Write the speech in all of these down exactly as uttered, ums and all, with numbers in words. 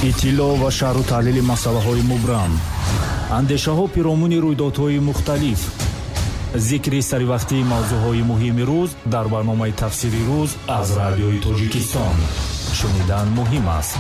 Иттилоъ ва шарҳу таҳлили масъалаҳои мубрам, андешаҳо пиромуни рӯйдодҳои мухталиф, зикри саривақтии мавзӯъҳои муҳими рӯз дар барномаи тафсири рӯз аз радиои Тоҷикистон. Шунидан муҳим аст.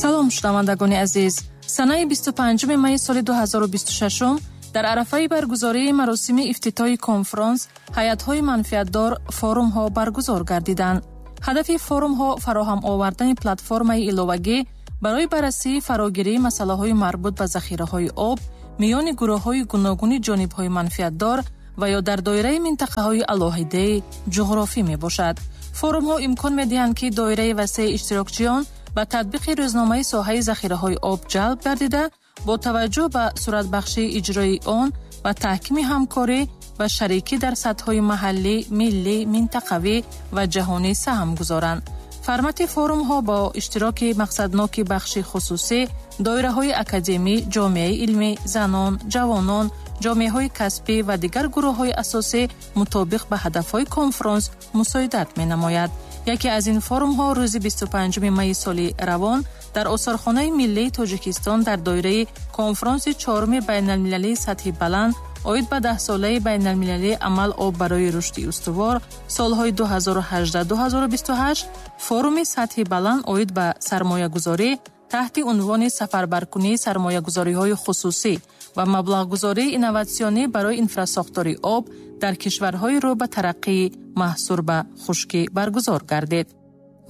Салом, шунавандагони азиз. Санаи бисту панҷуми майи соли ду ҳазору бисту шашум дар арафаи баргузории маросими ифтитоҳи конфронс ҳайатҳои манфиатдор форумҳо баргузор гардиданд. Ҳадафи форумҳо фароҳам овардани платформаи иловагӣ барои баррасии фарогирии масъалаҳои марбут ба захираҳои об миёни гурӯҳҳои гуногуни ҷонибҳои манфиатдор ва ё дар доираи минтақаҳои алоҳидаи ҷуғрофӣ мебошад. Форумҳо имкон медиҳанд, ки доираи васеи иштирокчиён ба татбиқи рӯзномаи соҳаи захираҳои об ҷалб гардида, бо таваҷҷӯҳ ба суратбахшии иҷрои он ва таҳкими ҳамкорӣ ва шарикӣ дар сатҳҳои маҳаллӣ, миллӣ, минтақавӣ ва ҷаҳонӣ саҳм гузоранд. Формати форумҳо бо иштироки мақсадноки бахши хусусӣ, доираҳои академӣ, ҷомеаи илмӣ, занон, ҷавонон, ҷомеаҳои касбӣ ва дигар гурӯҳҳои асосӣ мутобиқ ба ҳадафҳои конфронс мусоидат менамояд. Яке аз ин форумҳо рӯзи бисту панҷуми майи соли равон дар Осорхонаи миллии Тоҷикистон дар доираи конфронси чоруми байналмилалии сатҳи баланд оид ба даҳсолаи байналмилалии амал об барои рушди устувор солҳои ду ҳазору ҳаждаҳ ду ҳазору бисту ҳашт форуми сатҳи баланд оид ба сармоягузорӣ таҳти унвони сафарбаркунии сармоягузориҳои хусусӣ ва маблағгузории инноватсионӣ барои инфрасохтори об дар кишварҳои рӯ ба тараққӣ маҳсур ба хушкӣ баргузор гардид.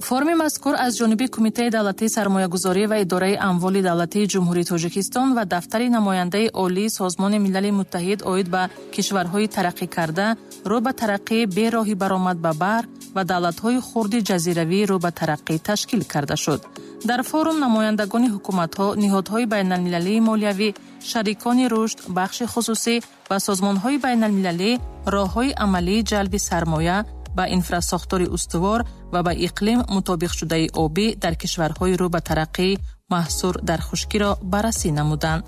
Форуми мазкур аз ҷониби Кумитаи давлатии сармоягузорӣ ва идораи амволи давлатии Ҷумҳурии Тоҷикистон ва дафтари намояндаи олии Созмони Милали Муттаҳид оид ба кишварҳои тараққӣ карда, рӯ ба тараққӣ бе роҳи баромад ба баҳр ва давлатҳои хурди ҷазиравӣ рӯ ба тараққӣ ташкил карда шуд. Дар форум намояндагони ҳукуматҳо, ниҳодҳои байналмилалии молиявӣ, шарикони рушд, бахши хусусӣ ва созмонҳои байналмилалӣ роҳҳои амалии ҷалби сармоя ба инфрасохтори устувор ва ба иқлим мутобиқшудаи обӣ дар кишварҳои рӯ ба тараққӣ маҳсур дар хушкиро баррасӣ намуданд.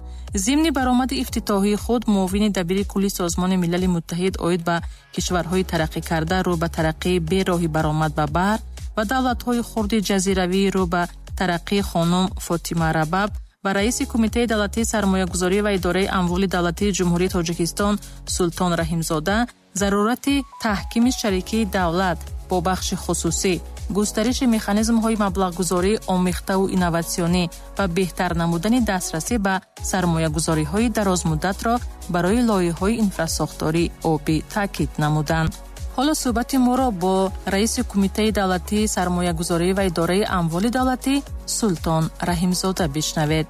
Зимни баромади ифтитоҳии худ муовини дабири кулли Созмони Милали Муттаҳид оид ба кишварҳои тараққӣ карда рӯ ба тараққӣ бе роҳи баромад ба баҳр ва давлатҳои хурди ҷазиравӣ рӯ ба тараққӣ хонум Фотима Рабаб ва раиси Кумитаи давлатии сармоягузорӣ ва идораи амволи давлатии Ҷумҳурии Тоҷикистон Султон Раҳимзода зарурати таҳкими шарикии давлат бо бахши хусусӣ, густариши механизмҳои маблағгузорӣ омехтаву инноватсионӣ ва беҳтар намудани дастрасӣ ба сармоягузориҳои дарозмуддатро барои лоиҳаҳои инфрасохтории обӣ таъкид намуданд. Ҳоло суҳбати моро бо раиси Кумитаи давлатии сармоягузорӣ ва идораи амволи давлатӣ Султон Раҳимзода бишнавед.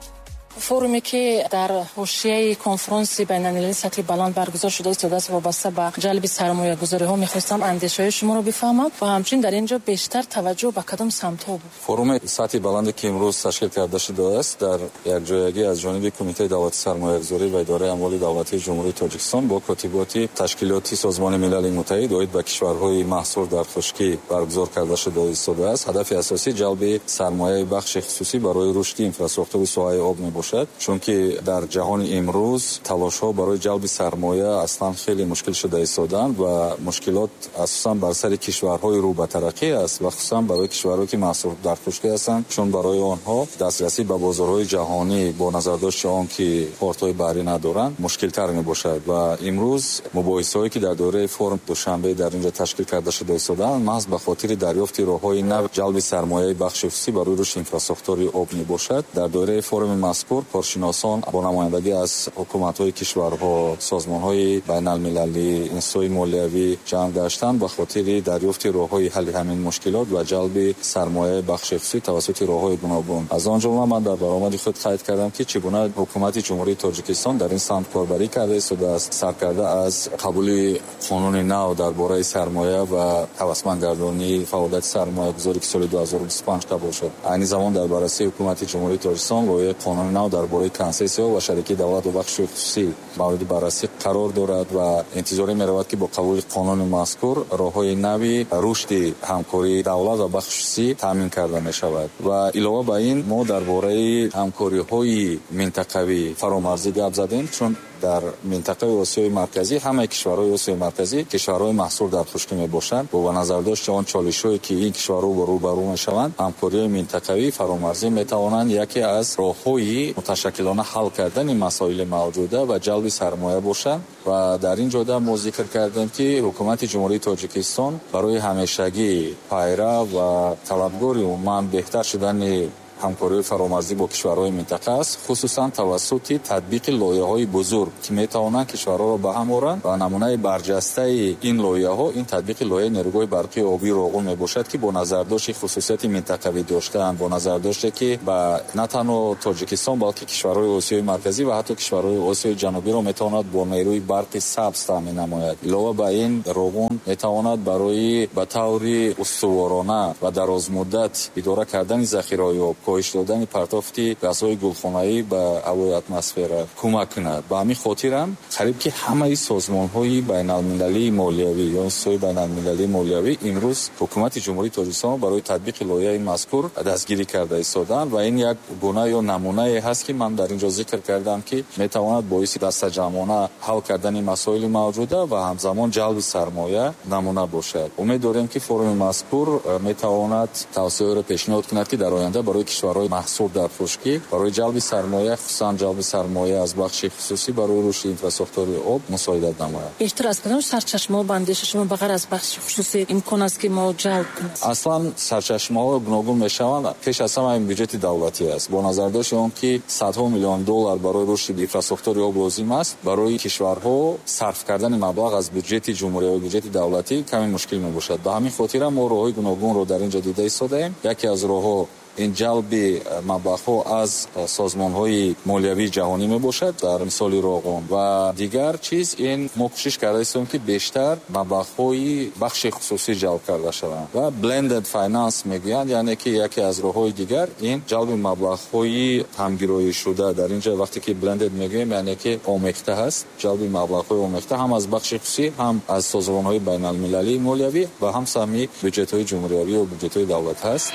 Форуме ки дар ҳошияи конфронси байналмилалии сатҳи баланд баргузор шуда истодааст вобаста ба ҷалби сармоягузориҳо, мехостам андешаҳои шуморо бифаҳмам ва ҳамчунин дар ин ҷо бештар таваҷҷӯҳ ба кадом самтҳо буд? Форуми сатҳи баланде ки имрӯз ташкил карда шудааст дар якҷоягӣ аз ҷониби Кумитаи давлатии сармоягузорӣ ва идораи амволи давлатии Ҷумҳурии Тоҷикистон бо котиботи ташкилоти Созмони Милали Муттаҳид оид ба кишварҳои маҳсур дар хушкӣ баргузор карда шуда истодааст. Ҳадафи асосӣ ҷалби сармояи бахши хусусӣ барои рушди инфрасохтори соҳаи об мебошад, чунки дар ҷаҳони имрӯз талошҳо барои ҷалби сармоя аслан хеле мушкил шуда истодаанд ва мушкилот асосан бар сари кишварҳои рӯ ба тараққӣ аст ва хусусан барои кишварҳое ки маҳсур дар хушкӣ ҳастанд, чун барои онҳо дастрасӣ ба бозорҳои ҷаҳонӣ бо назардошти он ки портҳои баҳрӣ надоранд мушкилтар мебошад. Ва имрӯз мубоҳисаҳое ки дар доираи форум Душанбе дар инҷо ташкил карда шуда истодаанд маҳз ба хотири дарёфти роҳҳои нав ҷалби сармояи бахши хусусӣ барои рушди инфрасохтори об мебошад. Дар доираи форуми мазкур коршиносон бо намояндагӣ аз ҳукуматҳои кишварҳо, созмонҳои байналмилалӣ, институтҳои молиявӣ ҷамъ гаштанд ба хотири дарёфти роҳҳои ҳалли ҳамин мушкилот ва ҷалби сармояи бахши хусусӣ тавассути роҳҳои гуногун. Аз он ҷумла ман дар баромади худ қайд кардам, ки чӣ гуна ҳукумати Ҷумҳурии Тоҷикистон дар ин самт корбарӣ карда истодааст, саркарда аз қабули қонуни нав дар бораи сармоя ва ҳавасмандгардонии фаъолияти сармоягузорӣ, ки соли ду ҳазору бисту панҷ қабул шуд. Айни замон дар баррасии ҳукумати Ҷумҳурии Тоҷикистон лоиҳаи қонуни нав дар бораи консессияҳо ва шарикии давлат ва бахши хусусӣ мавриди баррасӣ қарор дорад ва интизорӣ меравад, ки бо қабули қонуни мазкур роҳҳои нави рушди ҳамкории давлат ва бахши хусусӣ таъмин карда мешавад. Ва илова ба ин мо дар бораи ҳамкориҳои минтақавӣ фаромарзӣ гап задем, чун Дар минтақаи Осиёи Марказӣ ҳамаи кишварҳои Осиёи Марказӣ кишварҳои маҳсур дар хушкӣ мебошанд. Бо ба назардошти он чолишҳое ки ин кишварҳо рӯбарӯ мешаванд, ҳамкориҳои минтақавӣ фаромарзӣ метавонанд яке аз роҳҳои муташаккилона ҳал кардани масоили мавҷуда ва ҷалби сармоя бошанд. Ва дар ин ҷода мо зикр кардем, ки ҳукумати Ҷумҳурии Тоҷикистон барои ҳамешагӣ пайрав ва талабгори умуман беҳтар шудани ҳамкориҳои фаромарзӣ бо кишварҳои минтақа аст, хусусан тавассути татбиқи лоиҳаҳои бузург, ки метавонанд кишварҳоро ба ҳам оранд. Ва намунаи барҷастаи ин лоиҳаҳо ин татбиқи лоиҳаи нерӯгоҳи барқии обии Роғун мебошад, ки бо назардошти хусусияти минтақавӣ доштан, бо назардоште ки ба на танҳо Тоҷикистон, балки кишварҳои Осиёи Марказӣ ва ҳатто кишварҳои Осиёи Ҷанубиро метавонад бо нерӯи барқи сабз таъмин намояд. Илова ба ин, Роғун метавонад барои ба таври устуворона ва дарозмуддат идора кардани захираҳои об, коҳиш додани партофти газҳои гулхонаӣ ба ҳавои атмосфера кӯмак кунад. Ба ҳамин хотирам қариб ки ҳамаи созмонҳои байналмилалии молиявӣ ё институтҳои байналмилалии молиявӣ имрӯз ҳукумати Ҷумҳурии Тоҷикистон барои татбиқи лоиҳаи мазкур дастгирӣ карда истодаанд ва ин як гуна ё намунае ҳаст, ки ман дар ин ҷо зикр кардам, ки метавонад боиси дастаҷамъона ҳал кардани масоили мавҷуда ва ҳамзамон ҷалби сармоя намуна бошад. Умед дорем, ки форуми мазкур метавонад тавсияҳоеро пешниҳод кунад, ки дар оянда барои кишварҳои маҳсур дар хушкӣ барои ҷалби сармоя, хусусан ҷалби сармоя аз бахши хусусӣ барои рушди инфрасохтори об мусоидат намояд. Бештар аз кадом сарчашмаҳо ба андешаи шумо ба ғайр аз бахши хусусӣ имкон аст, ки мо ҷалб кунем? Аслан сарчашмаҳо гуногун мешаванд. Пеш аз ҳама ин бюҷети давлатӣ аст. Бо назардошти он ки садҳо миллион доллар барои рушди инфрасохтори об лозим аст, барои кишварҳо сарф кардани маблағ аз бюҷети ҷумҳурӣ ё бюҷети давлатӣ каме мушкил мебошад. Ба ҳамин хотира мо роҳҳои гуногунро дар ин ҷо дида истодаем. Яке аз роҳҳо ин ҷалби маблағҳо аз созмонҳои молиявии ҷаҳонӣ мебошад, дар мисоли Роғун. Ва дигар чиз ин мо кӯшиш карда истем, ки бештар маблағҳои бахши хусусӣ ҷалб карда шаванд ва blended finance мегӯянд, яъне ки яке аз роҳҳои дигар ин ҷалби маблағҳои ҳамгироӣшуда. Дар ин ҷо вақте ки blended мегӯем, яъне ки омехта ҳаст, ҷалби маблағҳои омехта ҳам аз бахши хусусӣ, ҳам аз созмонҳои байналмилалии молиявӣ ва ҳам саҳми бюҷетҳои ҷумҳуриявӣ ва бюҷетҳои давлат ҳаст.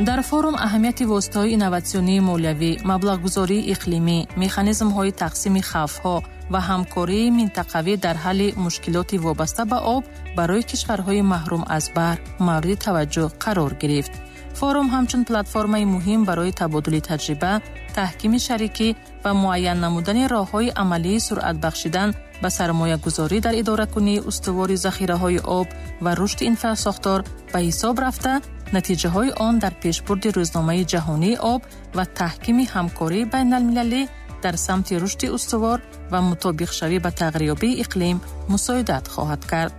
Дар форум аҳамияти воситаҳои инноватсионии молиявӣ, маблағгузории иқлимӣ, механизмҳои тақсими хавфҳо ва ҳамкории минтақавӣ дар ҳалли мушкилоти вобаста ба об барои кишварҳои маҳрум аз баҳр мавриди таваҷҷӯҳ қарор гирифт. Форум ҳамчун платформаи муҳим барои табодули таҷриба, таҳкими шарикӣ ва муайян намудани роҳҳои амалии суръат бахшидан ба сармоягузорӣ дар идоракунии устувори захираҳои об ва рушди инфрасохтор ба ҳисоб рафта, натиҷаҳои он дар пешбурди рӯзномаи ҷаҳонии об ва таҳкими ҳамкории байналмилалӣ дар самти рушди устувор ва мутобиқшавӣ ба тағйирёбии иқлим мусоидат хоҳад кард.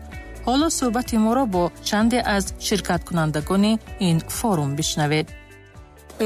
Ҳоло суҳбати моро бо чанде аз ширкаткунандагони ин форум бишнавед.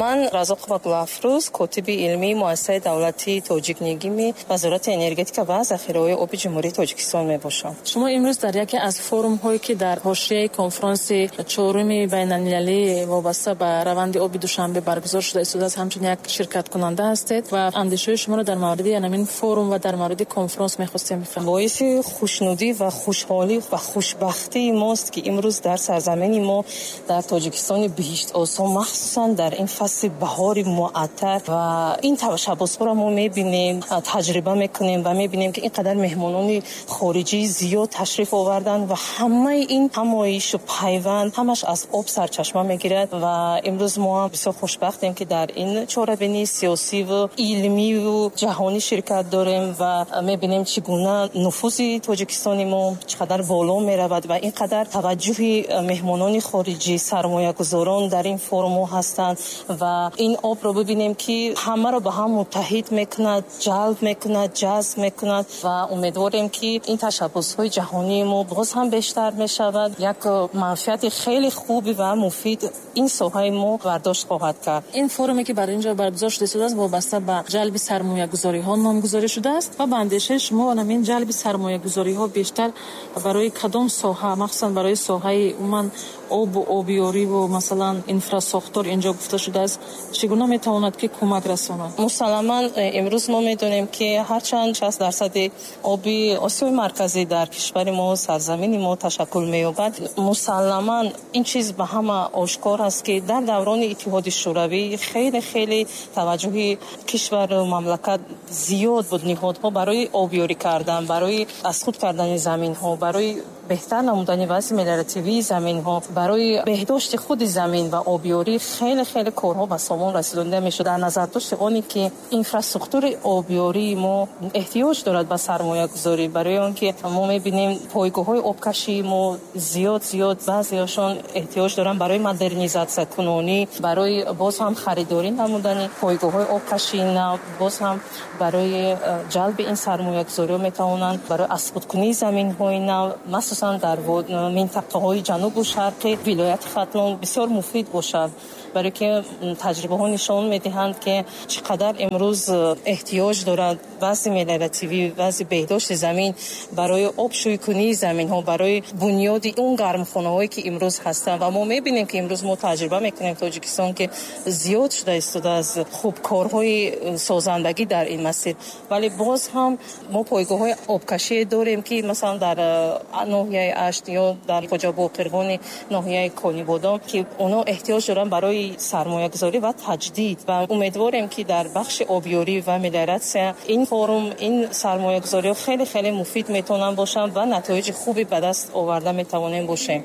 Ман Разоқова Гулафрӯз, котиби илмии муассисаи давлатии Тоҷикнигими Вазорати энергетика ва захираҳои оби Ҷумҳурии Тоҷикистон мебошам. Шумо имрӯз дар яке аз форумҳое, ки дар ҳошияи конфронси чоруми байналмилалӣ вобаста ба раванди оби Душанбе баргузор шуда истодааст, ҳамчун як ширкаткунанда ҳастед ва андешаҳои шуморо дар мавриди ҳамин форум ва дар мавриди конфронс мехостем бифаҳмем. Боиси хушнудӣ ва хушҳолӣ ва хушбахтии мост, ки имрӯз дар сарзамини мо, дар Тоҷикистони биҳиштосо, махсусан дар ин фасли баҳори муаттар ва ин ташаббусҳоро мо мебинем, таҷриба мекунем ва мебинем, ки ин қадар меҳмонони хориҷӣ зиёд ташриф оварданд ва ҳамаи ин ҳамоишу пайванд ҳамаш аз об сарчашма мегирад. Ва имрӯз мо ҳам бисёр хушбахтем, ки дар ин чорабинии сиёсиву илмиву ҷаҳонӣ ширкат дорем ва мебинем, чӣ гуна нуфузи Тоҷикистони мо чӣ қадар боло меравад ва ин қадар таваҷҷӯҳи меҳмонони хориҷӣ, сармоягузорон дар ин форумҳо ҳастанд ва ин обро бибинем, ки ҳамаро ба ҳам муттаҳид мекунад, ҷалб мекунад, ҷазб мекунад ва умедворем, ки ин ташаббусҳои ҷаҳонии мо боз ҳам бештар мешавад. Як манфиати хеле хуби ва муфид ин соҳаи мо бардошт хоҳад кард. Ин форуме, ки бар инҷо баргузор шуда истодааст, вобаста ба ҷалби сармоягузориҳо номгузорӣ шудааст ва ба андешаи шумо ҳамин ҷалби сармоягузориҳо бештар барои кадом соҳа, махсусан барои соҳаи умуман обу обиёриву масалан инфрасохтор инҷо гуфта шудааст, чӣ гуна метавонад ки кӯмак расонад? Мусалламан имрӯз мо медонем, ки ҳарчанд шаст дарсади оби Осиёи Марказӣ дар кишвари мо, сарзамини мо ташаккул меёбад, мусалламан ин чиз ба ҳама ошкор аст, ки дар даврони Иттиҳоди Шӯравӣ хеле хеле таваҷҷӯҳи кишвару мамлакат зиёд буд. Ниҳодҳо барои обёрӣ кардан, барои аз худ кардани заминҳо, барои беҳтар намудани вазъи мелиоративии заминҳо, барои беҳдошти худи замин ва обёрӣ хеле хеле корҳо ба сомон расидонида мешуд. Дар назардошти оне ки инфраструктури обёрии мо эҳтиёҷ дорад ба сармоягузорӣ, барои он ки мо мебинем пойгоҳҳои обкашии мо зиёд зиёд баъзеашон эҳтиёҷ доранд барои модернизатсиякунонӣ, барои боз ҳам харидорӣ намудани пойгоҳҳои обкашии нав, боз ҳам барои ҷалби ин сармоягузориҳо метавонанд барои аз худкунии заминҳои нав, махсусан дар минтақаҳои ҷанубу шарқи вилояти Хатлон бисёр муфид бошад, барои ки таҷрибаҳо нишон медиҳанд, ки чӣ қадар имрӯз эҳтиёҷ дорад вазъи мелиоративӣ, вазъи беҳдошти замин барои обшӯйкунии заминҳо, барои бунёди он гармхонаҳое ки имрӯз ҳастанд. Ва мо мебинем, ки имрӯз мо таҷриба мекунем Тоҷикистон, ки зиёд шуда истода аз хубкорҳои созандагӣ дар ин масир, вале боз ҳам мо пойгоҳҳои обкашие дорем, ки масалан дар ноҳияи Ашт ё дар Хоҷабоқирғони ноҳияи Конибодом, ки онҳо эҳтиёҷ доранд барои сармоягузорӣ ва таҷдид. Ва умедворем, ки дар бахши обёрӣ ва мелиоратсия ин форум, ин сармоягузориҳо хеле хеле муфид метавонанд бошанд ва натоиҷи хуби ба даст оварда метавонем бошем.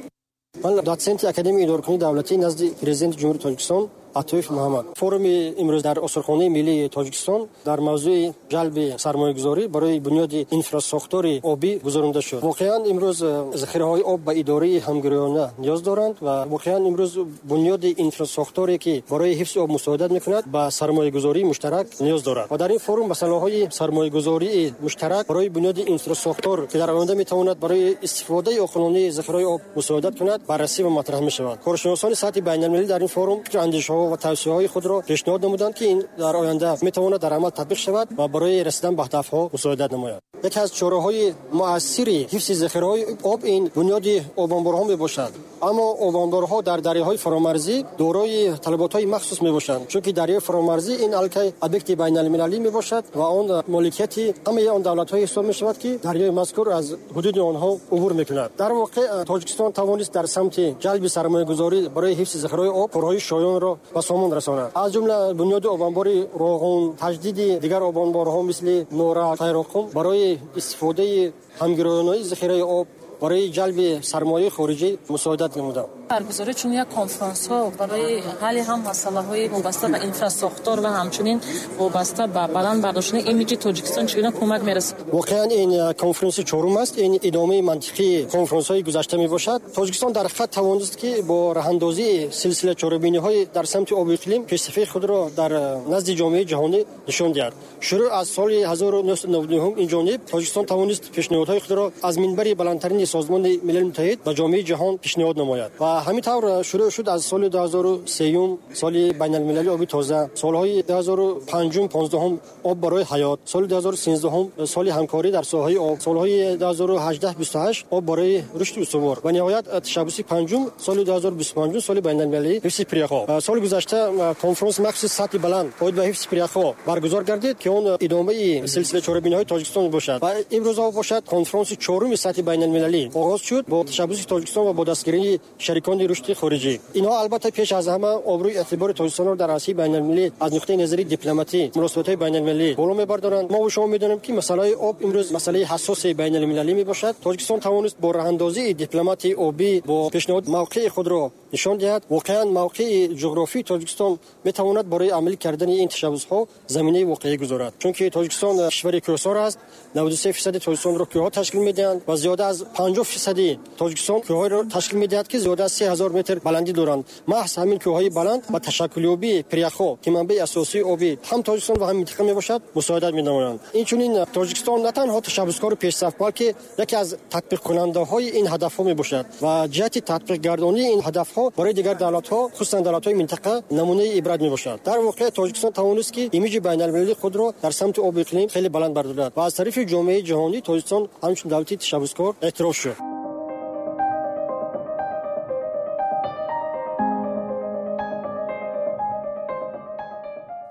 Ман дотсенти Академияи идоракунии давлатӣ назди Президенти Ҷумҳурии Тоҷикистон Атоев Муҳаммад. Форуми имрӯз дар Осорхонаи миллии Тоҷикистон дар мавзӯи ҷалби сармоягузорӣ барои бунёди инфрасохтори обӣ гузаронида шуд. Воқеан имрӯз захираҳои об ба идораи ҳамгироёна ниёз доранд ва воқеан имрӯз бунёди инфрасохторе, ки барои ҳифзи об мусоидат мекунад, ба сармоягузории муштарак ниёз дорад. Ва дар ин форум масъалаҳои сармоягузории муштарак барои бунёди инфрасохтор, ки дар оянда метавонад барои истифодаи оқилонаи захираҳои об мусоидат кунад, баррасӣ ва матраҳ мешавад. Коршиносони сатҳи байналмилалӣ дар ин форум фикру андешаҳо ва тавсияҳои худро пешниҳод намуданд, ки ин дар оянда метавонад дар амал татбиқ шавад ва барои расидан ба ҳадафҳо мусоидат намояд. Яке аз чораҳои муассири ҳифзи захираҳои об ин бунёди обанборҳо мебошад. Аммо обанборҳо дар дарёҳои фаромарзӣ дорои талаботҳои махсус мебошанд, чунки дарёи фаромарзӣ ин алкай объекти байналмилалӣ мебошад ва он моликияти ҳамаи он давлатҳое ҳисоб мешавад, ки дарёи мазкур аз ҳудуди онҳо убур мекунад. Дар воқеъ Тоҷикистон тавонист дар самти ҷалби сармоягузорӣ барои ҳифзи захираҳои об корҳои шоёнро ба сомон расонад. Аз ҷумла бунёди обанбори Роғун, таҷдиди дигар обанборҳо мисли Нора, Қайроққум барои истифодаи ҳамгироёнаи захираи об барои ҷалби сармояи хориҷӣ мусоидат намуданд. Баргузории чунин як конференсҳо барои ҳалли ҳам масъалаҳои вобаста ба инфрасохтор ва ҳамчунин вобаста ба баланд бардоштани имиҷи Тоҷикистон чӣ гуна кӯмак мерасад? Воқеан ин конференси чорум аст. Ин идомаи мантиқии конференсҳои гузашта мебошад. Тоҷикистон дар ҳақиқат тавонист, ки бо роҳандозии силсила чорабиниҳои дар самти обу иқлим пешсафии худро дар назди ҷомеаи ҷаҳонӣ нишон диҳад. Шурӯъ аз соли ҳазору нӯҳсаду наваду нӯҳум ин ҷониб Тоҷикистон тавонист пешниҳодҳои худро аз минбари баландтарини Созмони Милали Муттаҳид ба ҷомеаи ҷаҳон пешниҳод намояд. Ва ҳамин тавр шурӯъ шуд аз соли ду ҳазору сеюм, соли байналмилалии оби тоза, солҳои ду ҳазору панҷум, понздаҳум об барои ҳаёт, соли ду ҳазору сенздаҳум соли ҳамкорӣ дар соҳаи об, солҳои ду ҳазору ҳаждаҳ бисту ҳашт об барои рушди устувор ва ниҳоят ташаббуси панҷум соли ду ҳазору бисту панҷум соли байналмилалии ҳифзи пиряхҳо. Соли гузашта конференси махсуси сатҳи баланд оид ба ҳифзи пиряхҳо баргузор гардид, ки он идомаи силсила чорабиниҳои Тоҷикистон бошад. Ва имрӯзҳо бошад конференси чоруми сатҳи байналмилалӣ оғоз шуд бо ташаббуси Тоҷикистон ва бо дастгирии шарикони рушди хориҷӣ. Инҳо албатта пеш аз ҳама обрӯи эътибори Тоҷикистонро дар арсаи байналмилалӣ аз нуқтаи назари дипломатӣ, муносибатҳои байналмилалӣ боло мебардоранд. Мо ва шумо медонем, ки масъалаи об имрӯз масъалаи ҳассоси байналмилалӣ мебошад. Тоҷикистон тавонист бо роҳандозии дипломатии обӣ бо пешниҳод мавқеи худро нишон диҳад. Воқеан мавқеи ҷуғрофии Тоҷикистон метавонад барои амалӣ кардани ин ташаббусҳо заминаи воқеӣ гузорад, чунки Тоҷикистон кишвари кӯҳсор аст. наваду се фисади Тоҷикистонро кӯҳҳо ташкил медиҳанд ва зиёда аз панҷоҳ фисади Тоҷикистон кӯҳҳоеро ташкил медиҳад, ки зиёда аз се ҳазор метр баландӣ доранд. Маҳз ҳамин кӯҳҳои баланд ба ташаккулёбии пиряхҳо, ки манбаи асосии обӣ ҳам Тоҷикистон ва ҳам минтақа мебошад, мусоидат менамоянд. Инчунин Тоҷикистон на танҳо ташаббускору пешсаф, балки яке аз татбиқкунандаҳои ин ҳадафҳо мебошад ва ҷиҳати татбиқгардонии ин ҳадафҳо барои дигар давлатҳо, хусусан давлатҳои минтақа, намунаи ибрат мебошад. Дар воқеъ Тоҷикистон тавонист, ки имиҷи байналмилалии худро дар самти обу иқлим хеле баланд бардорад ва аз тарафи ҷомеаи ҷаҳонӣ Тоҷикистон ҳамчун давлати ташаббускор эътироф шуд.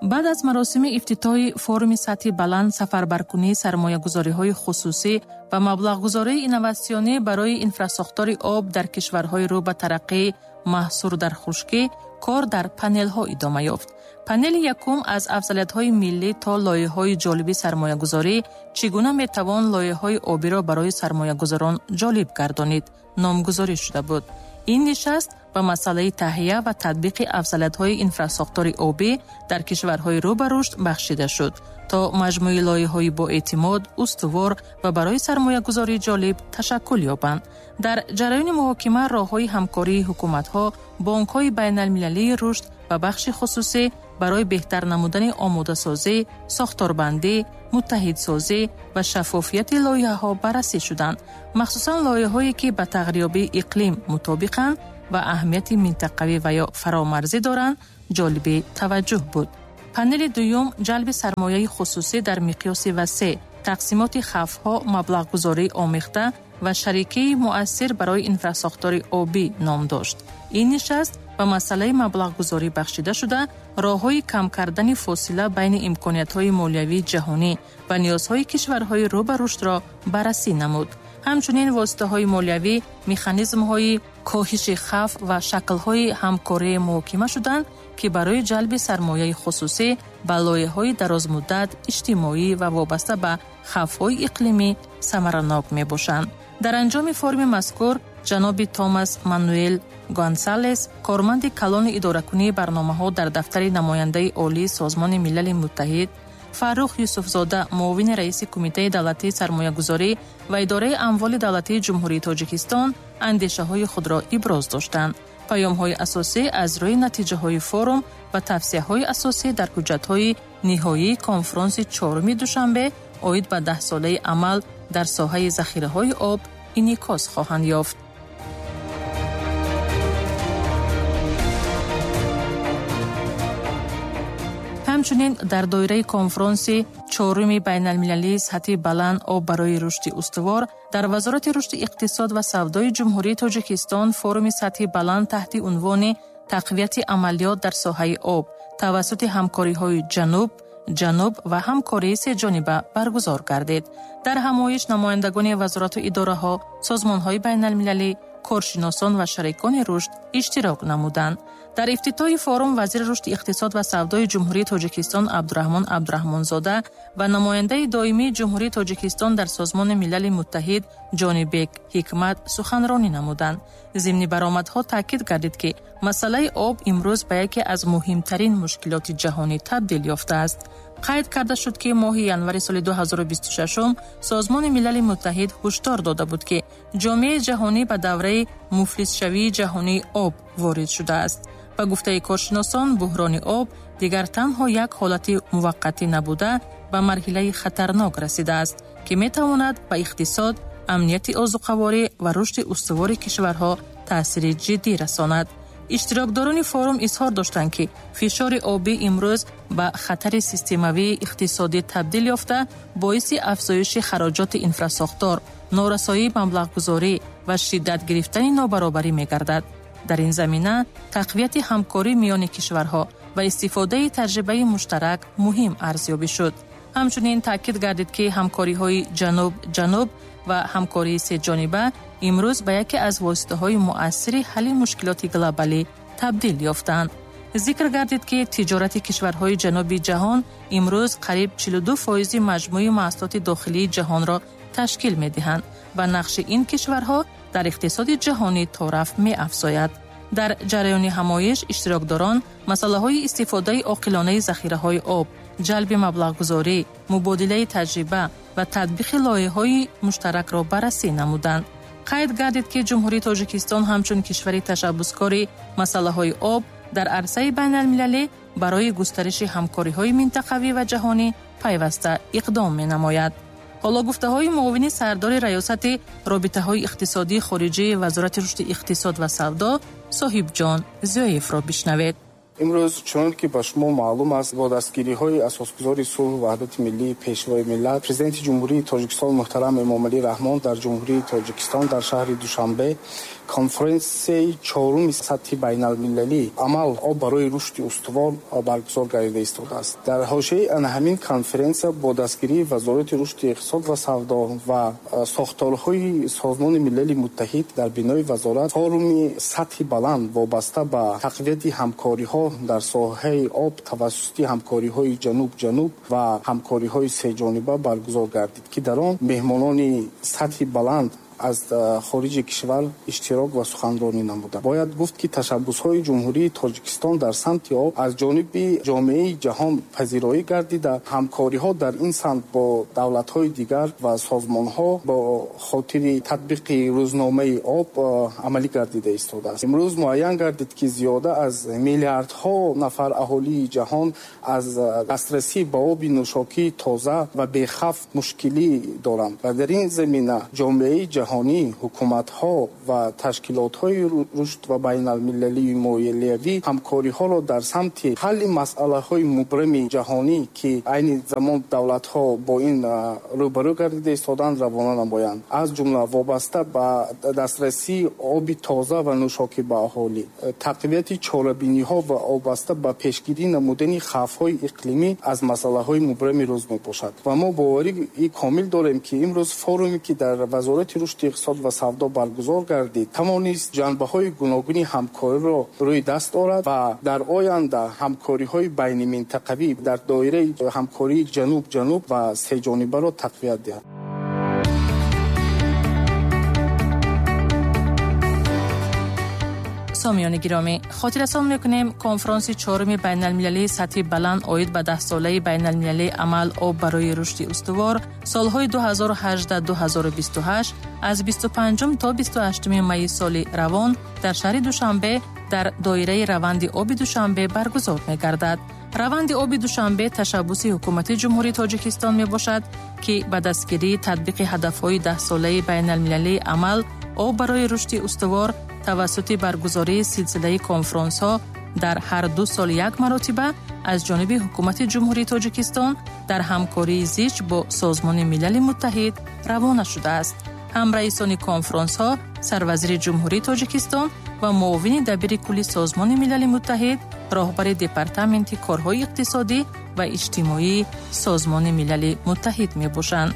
Баъд аз маросими ифтитоҳи форуми сатҳи баланд сафарбаркунии сармоягузориҳои хусусӣ ва маблағгузории инноватсионӣ барои инфрасохтори об дар кишварҳои рӯ ба тараққӣ маҳсур дар хушкӣ, кор дар панелҳо идома ёфт. Панели якум аз афзалиятҳои миллӣ то лоиҳаҳои ҷолиби сармоягузорӣ, чӣ гуна метавон лоиҳаҳои обиро барои сармоягузорон ҷолиб гардонид, номгузорӣ шуда буд. Ин нишаст ба масъалаи таҳия ва татбиқи афзалиятҳои инфрасохтори обӣ дар кишварҳои рӯ ба рушд бахшида шуд, то маҷмӯи лоиҳаҳои боэътимод, устувор ва барои сармоягузорӣ ҷолиб ташаккул ёбанд. Дар ҷараёни муҳокима роҳҳои ҳамкории ҳукуматҳо, бонкҳои байналмилалии рушд ва бахши хусусӣ барои беҳтар намудани омодасозӣ, сохторбандӣ, муттаҳидсозӣ ва шаффофияти лоиҳаҳо баррасӣ шуданд. Махсусан лоиҳаҳое, ки ба тағйирёбии иқлим мутобиқанд ва аҳамияти минтақавӣ ва ё фаромарзӣ доранд, ҷолиби таваҷҷӯҳ буд. Панели дуюм ҷалби сармояи хусусӣ дар миқёси васеъ, тақсимоти хавфҳо, маблағгузории омехта ва шарикии муассир барои инфрасохтори обӣ ном дошт. Ин нишаст ба масъалаи маблағгузорӣ бахшида шуда, роҳҳои кам кардани фосила байни имкониятҳои молиявии ҷаҳонӣ ва ниёзҳои кишварҳои рӯ ба рушдро баррасӣ намуд. Ҳамчунин воситаҳои молиявӣ, механизмҳои коҳиши хавф ва шаклҳои ҳамкории муҳокима шуданд, ки барои ҷалби сармояи хусусӣ ба лоиҳаҳои дарозмуддат, иҷтимоӣ ва вобаста ба хавфҳои иқлимӣ самаранок мебошанд. Дар анҷоми форуми мазкур ҷаноби Томас Мануэл Гонсалес, корманди калони идоракунии барномаҳо дар дафтари намояндаи олии Созмони Милали Муттаҳид, Фаррух Юсуфзода, муовини раиси Кумитаи давлатии сармоягузорӣ ва идораи амволи давлатии Ҷумҳурии Тоҷикистон андешаҳои худро иброз доштанд. Паёмҳои асосӣ аз рӯи натиҷаҳои форум ва тавсияҳои асосӣ дар ҳуҷҷатҳои ниҳоии конфронси чоруми Душанбе оид ба даҳсолаи амал дар соҳаи захираҳои об инъикос хоҳанд ёфт. Ҳамчунин дар доираи конфронси чоруми байналмилалии сатҳи баланд об барои рушди устувор дар Вазорати рушди иқтисод ва савдои Ҷумҳурии Тоҷикистон форуми сатҳи баланд таҳти унвони тақвияти амалиёт дар соҳаи об тавассути ҳамкориҳои ҷануб, ҷануб ва ҳамкории сеҷониба баргузор гардид. Дар ҳамоиш намояндагони вазорату идораҳо, созмонҳои байналмилалӣ, коршиносон ва шарикони рушд иштирок намуданд. Дар ифтитоҳи форум вазири рушди иқтисод ва савдои Ҷумҳурии Тоҷикистон Абдураҳмон Абдураҳмонзода ва намояндаи доимии Ҷумҳурии Тоҷикистон дар Созмони Милали Муттаҳид Ҷонибек Ҳикмат суханронӣ намуданд. Зимни баромадҳо таъкид гардид, ки масъалаи об имрӯз ба яке аз муҳимтарин мушкилоти ҷаҳонӣ табдил ёфтааст. Қайд карда шуд, ки моҳи январи соли ду ҳазору бисту шашум Созмони Милали Муттаҳид ҳушдор дода буд, ки ҷомеаи ҷаҳонӣ ба давраи муфлисшавии ҷаҳонии об ворид шудааст. Ба гуфтаи коршиносон, буҳрони об дигар танҳо як ҳолати муваққатӣ набуда, ба марҳилаи хатарнок расидааст, ки метавонад ба иқтисод, амнияти озуқаворӣ ва рушди устувори кишварҳо таъсири ҷиддӣ расонад. Иштирокдорони форум изҳор доштанд, ки фишори обӣ имрӯз ба хатари системавии иқтисодӣ табдил ёфта, боиси афзоиши хароҷоти инфрасохтор, норасоии маблағгузорӣ ва шиддат гирифтани нобаробарӣ мегардад. Дар ин замина тақвияти ҳамкорӣ миёни кишварҳо ва истифодаи таҷрибаи муштарак муҳим арзёбӣ шуд. Ҳамчунин таъкид гардид, ки ҳамкориҳои ҷануб-ҷануб ва ҳамкории сеҷониба имрӯз ба яке аз воситаҳои муассири ҳалли мушкилоти глобалӣ табдил ёфтанд. Зикр гардид, ки тиҷорати кишварҳои ҷануби ҷаҳон имрӯз қариб чилу ду фоизи маҷмӯи маҳсулоти дохилии ҷаҳонро ташкил медиҳанд ва нақши ин кишварҳо дар иқтисоди ҷаҳонӣ торафт меафзояд. Дар ҷараёни ҳамоиш иштирокдорон масъалаҳои истифодаи оқилонаи захираҳои об, ҷалби маблағгузорӣ, мубодилаи таҷриба ва татбиқи лоиҳаҳои муштаракро баррасӣ намуданд. Қайд гардид, ки Ҷумҳурии Тоҷикистон ҳамчун кишвари ташаббускори масъалаҳои об дар арсаи байналмилалӣ барои густариши ҳамкориҳои минтақавӣ ва ҷаҳонӣ пайваста иқдом менамояд. Ҳоло гуфтаҳои муовини сардори раёсати робитаҳои иқтисодии хориҷии Вазорати рушди иқтисод ва савдо Соҳибҷон Зиёевро бишнавед. Имрӯз чунон ки ба шумо маълум аст, бо дастгириҳои асосгузори сулҳу ваҳдати миллӣ, Пешвои миллат, Президенти Ҷумҳурии Тоҷикистон муҳтарам Эмомалӣ Раҳмон дар Ҷумҳурии Тоҷикистон дар шаҳри Душанбе конференсияи чоруми сатҳи байналмилалӣ «Амал об барои рушди устувор» баргузор гардида истодааст. Дар ҳошияи ана ҳамин конференсия бо дастгирии Вазорати рушди иқтисод ва савдо ва сохторҳои Созмони Милали Муттаҳид дар бинои вазорат форуми сатҳи баланд вобаста ба тақвияти ҳамкориҳо дар соҳаи об тавассути ҳамкориҳои ҷануб-ҷануб ва ҳамкориҳои сеҷониба баргузор гардид, ки дар он меҳмонони сатҳи баланд аз хориҷи кишвар иштирок ва суханронӣ намуданд. Бояд гуфт, ки ташаббусҳои Ҷумҳурии Тоҷикистон дар самти об аз ҷониби ҷомеаи ҷаҳон пазироӣ гардида, ҳамкориҳо дар ин самт бо давлатҳои дигар ва созмонҳо бо хотири татбиқи рӯзномаи об амалӣ гардида истодааст. Имрӯз муайян гардид, ки зиёда аз миллиардҳо нафар аҳолии ҷаҳон аз дастрасӣ ба оби нӯшокии тоза ва бехавф мушкилӣ доранд ва дар ин замина ҷомеаи ҷаҳон, ҳукуматҳо ва ташкилотҳои рушд ва байналмилалии молиявӣ ҳамкориҳоро дар самти ҳалли масъалаҳои мубрами ҷаҳонӣ, ки айни замон давлатҳо бо ин рӯбарӯ гардида истоданд, равона намоянд. Аз ҷумла вобаста ба дастрасии оби тоза ва нӯшокӣ ба аҳолӣ, тақвияти чорабиниҳо ва вобаста ба пешгирӣ намудани хавфҳои иқлимӣ аз масъалаҳои мубрами рӯз мебошад. Ва мо боварии комил дорем, ки имрӯз форуме, ки дар Вазорати рушди иқтисод ва савдо баргузор гардид, тавонист ҷанбаҳои гуногуни ҳамкориро рӯи даст орад ва дар оянда ҳамкориҳои байниминтақавӣ дар доираи ҳамкории ҷануб-ҷануб ва сеҷонибаро тақвият диҳад. Сомиёни гиромӣ, хотиррасон мекунем, конфронси чоруми байналмилалии сатҳи баланд оид ба даҳсолаи байналмилалии амал об барои рушди устувор солҳои ду ҳазору ҳаждаҳ ду ҳазору бисту ҳашт аз бисту панҷум то бисту ҳаштуми майи соли равон дар шаҳри Душанбе дар доираи раванди оби Душанбе баргузор мегардад. Раванди оби Душанбе ташаббуси ҳукумати Ҷумҳурии Тоҷикистон мебошад, ки ба дастгирии татбиқи ҳадафҳои даҳсолаи байналмилалии амал об барои рушди устувор тавассути баргузории силсилаи конфронсҳо дар ҳар ду сол як маротиба аз ҷониби ҳукумати Ҷумҳурии Тоҷикистон дар ҳамкории зич бо Созмони Милали Муттаҳид равона шудааст. Ҳамраисони конфронсҳо сарвазири Ҷумҳурии Тоҷикистон ва муовини дабири кулли Созмони Милали Муттаҳид, роҳбари департаменти корҳои иқтисодӣ ва иҷтимоии Созмони Милали Муттаҳид мебошанд.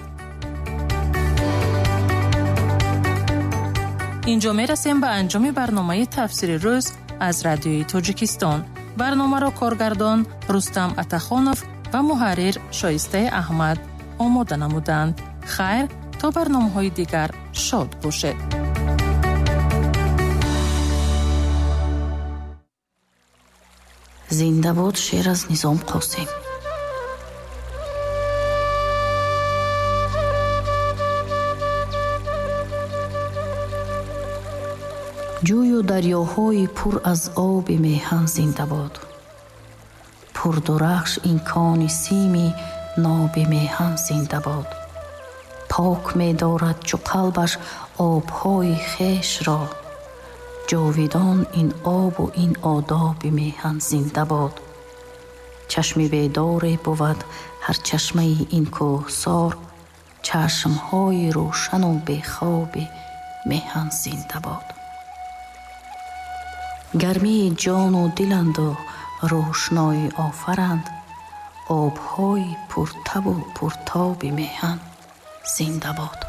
Инҷо мерасем ба анҷоми барномаи тафсири рӯз аз Радиои Тоҷикистон. Барномаро коргардон Рустам Атахонов ва муҳаррир Шоистаи Аҳмад омода намуданд. Хайр, то барномаҳои дигар шод бошед. Зинда бод шеър аз Низом Қосим. Ҷӯю дарёҳои пур аз оби меҳан зинда бод. Пурдурахш ин кони сими ноби меҳан зинда бод. Пок медорад чу қалбаш обҳои хешро. Ҷовидон ин обу ин одоби меҳан зинда бод. Чашми бедоре бувад ҳар чашмаи ин кӯҳсор, чашмҳои рӯшану бехоби меҳан зинда бод. Гармии ҷону диланду рӯшноӣ офаранд, обҳои пуртабу пуртоби меҳан зинда бод.